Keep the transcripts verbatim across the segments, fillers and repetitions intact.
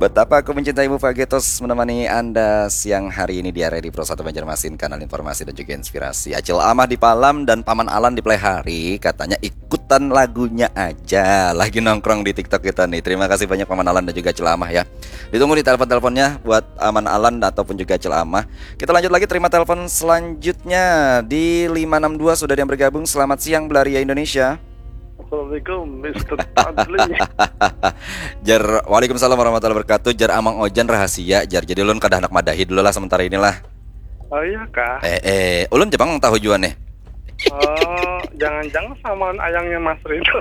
Betapa aku mencintaimu, Pak Getos, menemani Anda siang hari ini di area di Pro satu Banjarmasin, kanal informasi dan juga inspirasi. Acil Amah di Palam dan Paman Alan di Playhari katanya ikutan lagunya aja. Lagi nongkrong di TikTok kita nih. Terima kasih banyak Paman Alan dan juga Acil Amah ya. Ditunggu di telepon-teleponnya buat Paman Alan ataupun juga Acil Amah. Kita lanjut lagi, terima telepon selanjutnya di lima enam dua, sudah ada yang bergabung. Selamat siang, Belaria Indonesia. Assalamualaikum, Mister Fadli. Jar, waalaikumsalam warahmatullahi wabarakatuh. Jar Amang Ojan rahasia, jar. Jadi ulun kada handak madahi dulu lah sementara inilah. Oh iya kah? Eh, eh, ulun jepang tahu jua nih. Oh, jangan-jangan sama ayangnya Mas Ridho.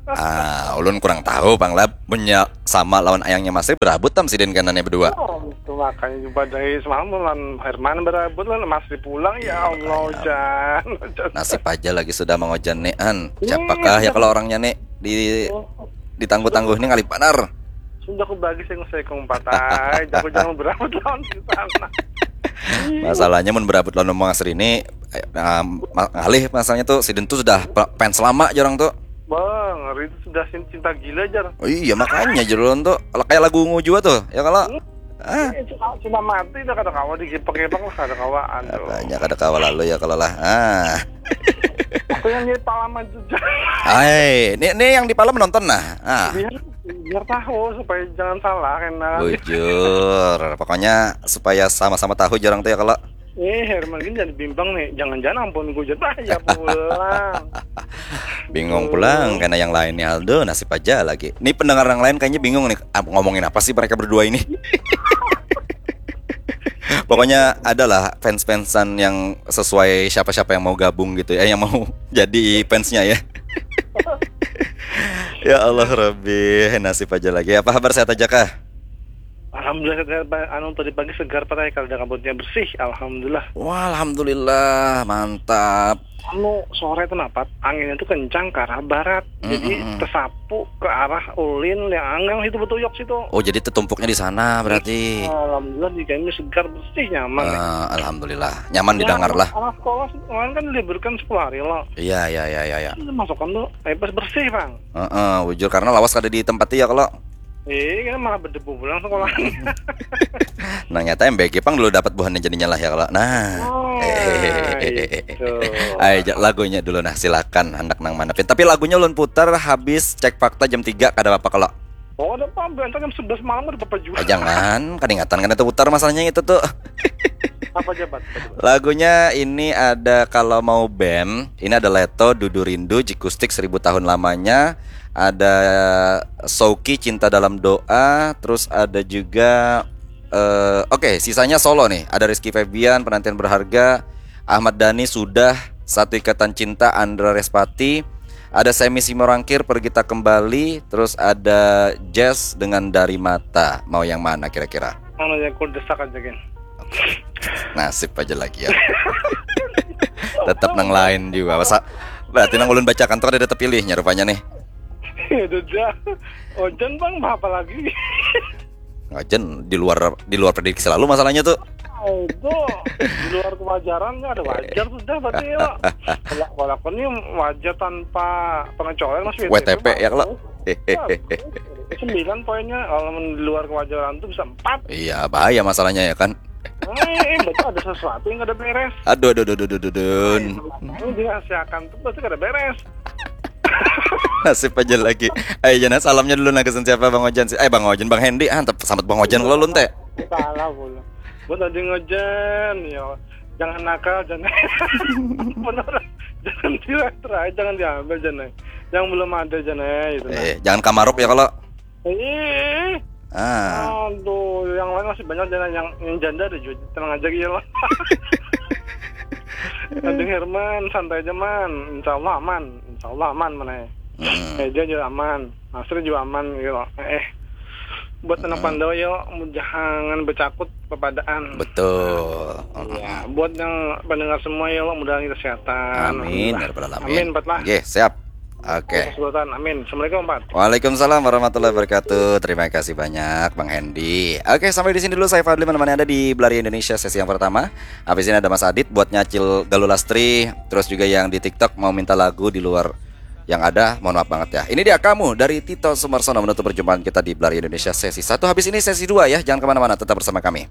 Ah, ulun kurang tahu, Pang Lab. Punya sama lawan ayangnya Mas Ridho, berabut tam sidin kanannya berdua. Oh, itu makanya juga dari semalam lawan Herman berabut lah, Mas Ridho pulang, ya Allah, Jan. Nasib aja lagi sudah Mang Ojan nih, an. Siapakah ya kalau orangnya nih di ditangguh-tangguh nih, ngalih banar. Sudah aku bagi sing saya kong patai, aku jangan berabut lawan di sana. Masalahnya mun berabut lawan Mang Asri ini, eh, nah, ma- ngalih masalahnya tuh, sidin tuh sudah pe- fans lama jarang tuh. Bang, hari itu sudah sin- cinta gila, Jar. Oh iya, makanya jar ulun tuh, kalau kayak lagu ungu juga tuh ya kalau ah Eh, cuma, cuma mati dah, kada kawa digepek-gepek lah, kada kawa. Aduh. Banyak ada kawa lalu ya kalau lah. Ah. Aku yang di Palaman juga. Hai, ini ini yang di Palam nonton nah. Ah. Biar biar tahu supaya jangan salah, karena Bujur. Pokoknya supaya sama-sama tahu jarang tuh ya kalau. Eh, Herman gini jadi bimbang nih, jangan-jangan ampun gue jadi, bah, ya pulang. Bingung pulang karena yang lain nih, Aldo, nasib aja lagi. Ini pendengar yang lain kayaknya bingung nih, "Ah, ngomongin apa sih mereka berdua ini?" Pokoknya adalah fans-fansan yang sesuai siapa-siapa yang mau gabung gitu ya, yang mau jadi fansnya ya. Ya Allah Rabbi, nasib aja lagi. Apa kabar, sehat aja kah? Alhamdulillah, segar, Pak. Anu, tadi pagi segar, Pak, kalau ada kabutnya bersih, alhamdulillah. Wah, alhamdulillah, mantap. Anu, sore tuh napat, anginnya tuh kencang ke arah barat, jadi Mm-mm. Tersapu ke arah ulin yang anggang situ, betuyok situ. Oh, jadi tertumpuknya di sana berarti. Alhamdulillah, di kami segar, bersih, nyaman. Eh, alhamdulillah, nyaman didengar lah. Anak sekolah kemarin kan diliburkan sepuluh hari loh. Iya, iya, iya, iya, iya. Itu masukkan tuh, eh, pas bersih, Bang. Heeh, bujur karena lawas kada di tempat ya kalau. Eh, kan malah berdebu pulang sekolahnya. Nah, nyata M B G pang dulu dapat buhannya jadinya lah ya kalau. Nah. Oh, Eh. itu. Ayo, ja- lagunya dulu nah, silakan, hendak nang mana pin. Tapi lagunya ulun putar habis cek fakta jam tiga, kada apa-apa kalau. Oh, ada apa? Bentar jam sebelas malam ada apa juga? Eh, jangan, kadingatan kan itu putar masalahnya itu tuh. Apa jabat? Apa jabat? Lagunya ini ada Kalau Mau Band, ini ada Leto, Dudu Rindu, Jikustik Seribu Tahun Lamanya, ada Souki, Cinta Dalam Doa, terus ada juga eh oke, sisanya solo nih. Ada Rizky Febian, Penantian Berharga, Ahmad Dhani, Sudah, Satu Ikatan Cinta, Andra Respati, ada Semi Simorangkir, Pergi Tak Kembali, terus ada Jazz dengan Dari Mata. Mau yang mana kira-kira? Anu ya, aku desak aja, Gen. Nasib aja lagi ya. Tetap nang lain juga. Masa berarti nang ulun bacakan tuh ada tetap pilihnya rupanya nih. Itu aja. Ojan, Bang, apa lagi? Ngajen di luar di luar prediksi selalu masalahnya tuh. Oh, itu di luar kewajaran, nggak ada wajar sudah berarti ya. Kalau kalau aku nih wajar tanpa pengecualian, masih W T P ya kalau. Sembilan poinnya, kalau di luar kewajaran tuh bisa empat. Iya, bahaya masalahnya ya kan. Eh, eh, betul ada sesuatu yang kada beres. Aduh, aduh, aduh, aduh, aduh, aduh. Ini dirahasiakan tuh berarti kada beres. Nasib aja lagi. Ayo, jana salamnya dulu, nah, kesan siapa, Bang Ojan sih? Eh, Bang Ojan, Bang Hendy, ah, tetap selamat Bang Ojan kalau ulun teh. Salah pula. Buat tadi ngojan, ya, jangan nakal, jangan benar, jangan diletra, jangan diambil, jangan. Yang belum ada, jangan, itu nah. Eh, jangan kamaruk ya kalau. Eh, Ah, aduh, yang lain masih banyak, jangan, yang yang janda ada juga, tenang aja gitu lah. Kanjeng Herman, santai aja, Man, insya Allah aman, insya Allah aman, mana ya. mm, Eh, dia juga aman, Asri juga aman gitu loh. Eh, buat anak Mm-mm. Pandawa yo, jangan bercakut pepadaan. Betul. Ya, buat yang pendengar semua ya, Allah mudahan kita kesehatan. Amin ya rabbal alamin. Amin, empat lah. Oke, siap. Oke. Sultan, amin. Assalamualaikum, empat. Waalaikumsalam warahmatullahi wabarakatuh. Terima kasih banyak, Bang Hendy. Oke, sampai di sini dulu saya, Fadli, menemani Anda di Belari Indonesia sesi yang pertama. Habis ini ada Mas Adit buat nyacil Galulastri, terus juga yang di TikTok mau minta lagu di luar Yang ada, mohon maaf banget ya. Ini dia kamu dari Tito Sumarsono menutup perjumpaan kita di Blari Indonesia sesi satu. Habis ini sesi dua ya, jangan kemana-mana, tetap bersama kami.